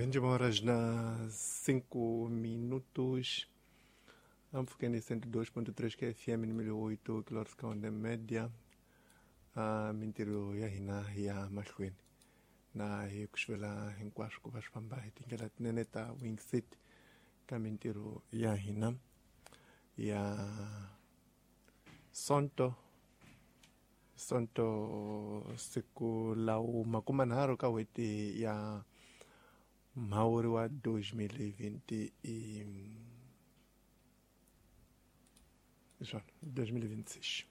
Horas na 5 minutos. Amfukeni 102.3 que FM número 8 kHz de média. A mintirho ya hina ya mahlweni na hi ku xivela hinkwaswo ku va swi famba hi tindlela tinene ta wingset ka mintirho ya hina ya Sonto. Sonto siku lawu 30 ka n'hweti ya Mhawuri wa 2020 i swona 2026.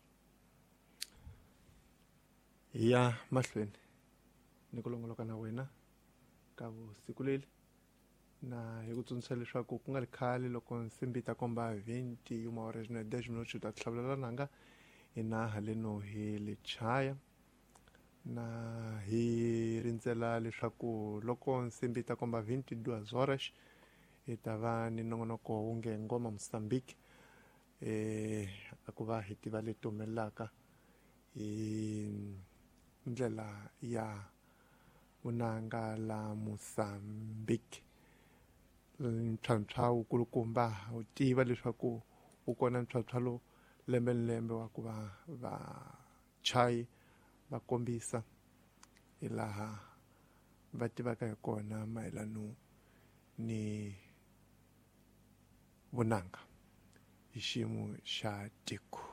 Hi ya mahlweni ni ku longoloka na wena ka vusiku leli, na hi ku tsundzuxa leswaku ku nga ri khale loko nsimbi ta komba 20 horas na 10 minutos ta hlavulela nanga hina haleno hi le chaya, na hi rindzela leswaku loko nsimbi ta komba 22 horas hi ta va ni nongonoko wu nge Ngoma Mozambique, a ku va hi tiva leti humelelaka hi ndlela ya vunanga la Mozambique. Ntlhantlha wukulukumba wu tiva leswaku wu kona ntlhantlha lowu lembe ni lembe wa ku va vachayi va kombisa hi laha va tivaka hi kona mayelano ni vunanga hi xiyimo xa tiko.